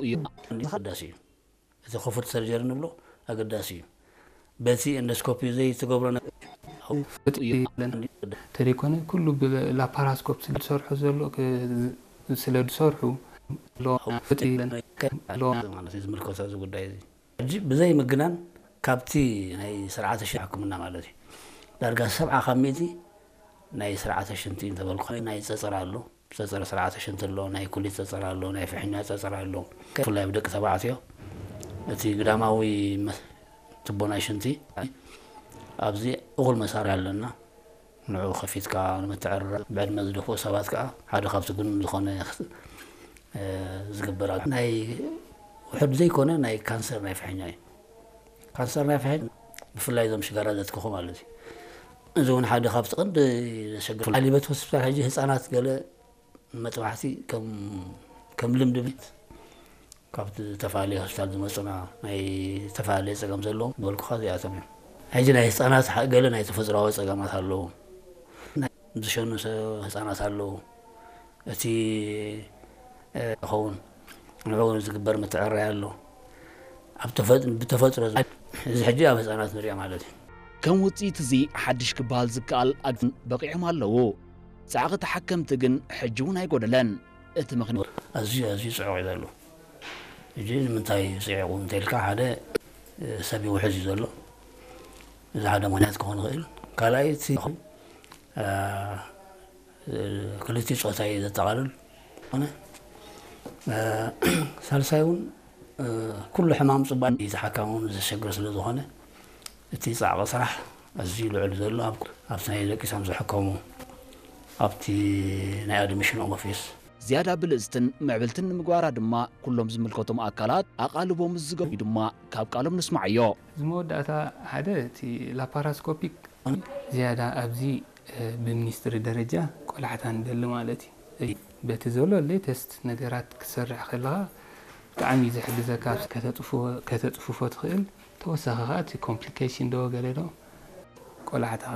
እዩ ኣገዳሲ እዩ። እቲ ክፉት ሰርጀሪ ንብሎ ኣገዳሲ እዩ። በቲ ኤንዶስኮፒ ዘይትገብሮ ነገር ተደይኮነ ኩሉ ብላፓራስኮፕ ስለዝሰርሑ ዘሎ ስለዝሰርሑ ማለት እዩ ዝምልከቶ እዚ ጉዳይ እዚ። ሕጂ ብዘይ ምግናን ካብቲ ናይ ስርዓተ ሽንቲ ሕክምና ማለት እዩ ዳርጋ ሰብዓ ካብ ሚእቲ ናይ ስርዓተ ሽንቲ እንተበልኩ ናይ ፀፀር ኣሎ። ፀፀር ስርዓተ ሽንቲ ኣሎ፣ ናይ ኩሊት ፀፀር ኣሎ፣ ናይ ፍሕኛ ፀፀር ኣሎ። ብፍላይ ኣብ ደቂ ተባዕትዮ እቲ ግዳማዊ መ- ቱቦ ናይ ሽንቲ ኣብዚ እኹል መሳርያ ኣለና። ንዑ ከፊትካ ንምትዕርራብ ብዕድመ ዝደፍኡ ሰባት ከዓ ሓደ ካብቲ ግኑን ዝኾነ ዝግበር ናይ ውሕድ ዘይኮነ ናይ ካንሰር ናይ ፍሕኛ እዩ። ካንሰር ናይ ፍሕኛ ብፍላይ እዞም ሽጋራ ዘትክኹ ማለት እዩ። እዚ እውን ሓደ ካብቲ ቀንዲ ዘሸግር ኣሊበት ሆስፒታል ሕጂ ህፃናት ገለ መጥባሕቲ ከም ልምዲ ቤት ካብ ዝተፈላለየ ሆስፒታል ዝመፁና ናይ ዝተፈላለየ ፀገም ዘለዎም ዝበልኩኻ እዚኣቶም እዮም። ሕጂ ናይ ህፃናት ገለ ናይ ተፈጥሯዊ ፀገማት ኣለዉ። ዝሸኑ ህፃናት ኣለዉ። እቲ ኸውን ንዕኡ ዝግበር ምትዕርራይ ኣሎ። ብተፈጥሮ እዚ ሕጂ ኣብ ህፃናት ንሪኦ ማለት እዩ። ከም ውፅኢት እዚ ሓድሽ ክበሃል ዝከኣል ኣግን በቂዖም ኣለዉ። ፃዕቒ ተሓከምቲ ግን ሕጂ እውን ኣይጎደለን። እቲ ምኽንያት ኣዝዩ ኣዝዩ ፅዑቕ እዩ ዘሎ። ሕጂ ንምንታይ ፅዒቑ እንተልካ ሓደ ሰብ ይውሕዝ እዩ ዘሎ። እዚ ሓደ ምኽንያት ክኾን ይኽእል። ካልኣይ እቲ ክልቲኡ ፆታ እዩ ዘጠቓልል። ኮነ ሳልሳይ እውን ኩሉ ሕማም ፅባሕ ተሓካሚ እውን ዘሸግር ስለ ዝኾነ እቲ ፃዕቒ ስራሕ ኣዝዩ ልዑል ዘሎ ኣብቲ ናይ ደቂሶም ዝሕከሙ ኣብቲ ናይ ኣድሚሽን ኦፊስ ዝያዳ ብልፅትን ምዕብልትን ንምግባራ ድማ ኩሎም ዝምልከቶም ኣካላት ኣቓልቦም ዝገቡ ድማ ካብ ቃሎም ንስማዓዮ። እዚ መወዳእታ ሓደ እቲ ላፓራስኮፒክ ዝያዳ ኣብዚ ብሚኒስትሪ ደረጃ ቆላሕታ ንደሊ ማለት እዩ። በቲ ዘሎ ሌተስት ነገራት ክትሰርሕ ከለኻ ብጣዕሚ እዩ ዝሕግዘካ። ከተፅፍፎ ትኽእል። ተወሳኺ ከዓ እቲ ኮምፕሊኬሽን ዶ ገለ ዶ ቆላሕታ